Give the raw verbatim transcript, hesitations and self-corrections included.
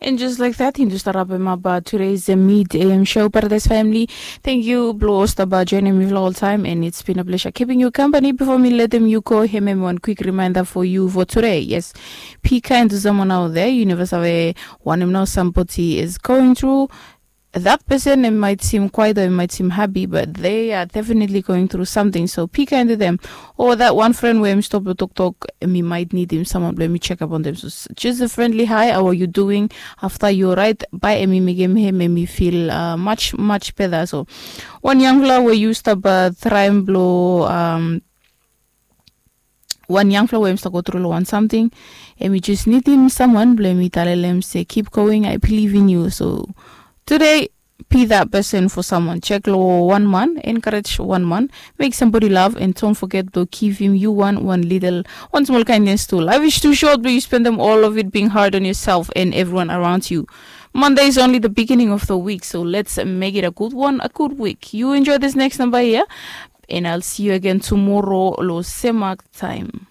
And just like that, yumi stap rapim ap today's mid am show, Paradise Family. Thank you blong stap joining mi long oltaim, and it's been a pleasure keeping you company before mi letim yu go. Hem em wan quick reminder for you for today. Yes, be kind to someone out there. Yu neva save wanem nao somebody is going through. That person, em might seem quiet or em might seem happy, but they are definitely going through something. So be kind to them. Or that one friend where em stop to talk talk, em might need him someone blong em check up on them. So just a friendly hi, how are you doing? After you right, by em make him him em feel uh, much much better. So one young fella where you stop uh, try and blow um one young fella where em stop go through one something, em just need him someone blong em tell him say keep going, I believe in you. So today, be that person for someone. Check lo one man, encourage one man, make somebody laugh, and don't forget to give him you one one little one small kindness too. Life is too short, but you spend them all of it being hard on yourself and everyone around you. Monday is only the beginning of the week, so let's make it a good one, a good week. You enjoy this next number here, and I'll see you again tomorrow lo same time.